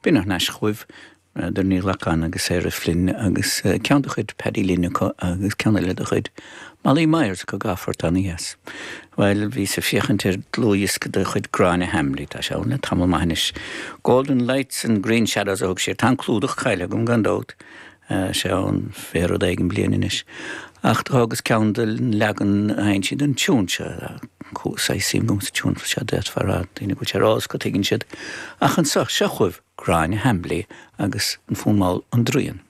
B'in thar n-ais chugaibh, Doireann Ní Ghlacáin agus Sarah Flynn agus ceann de chuid Paddy Lynn acu agus ceann eile de chuid Molly Myers acu dhá phort ana-dheas. Bhuel, bhíos ag féachaint ar dlúthdhiosca de chuid Gráinne Hambly, tá sé ann le tamall maith anois. Golden Lights and Green Shadows a thug sí air. Tá an clúdach caillte agam gan dabht. sé ann fé rud éigin bliain anois. Ach do thógas ceann den leagan a sheinn sí den tiún seo. Saghas suim agam sa tiún seo d'fhéadfá a rá, daoine go bhfuil sé ar eolas acu tuigeann siad. Ach anso, seo chugaibh Gráinne Hambly agus an fonn mall An Draíon.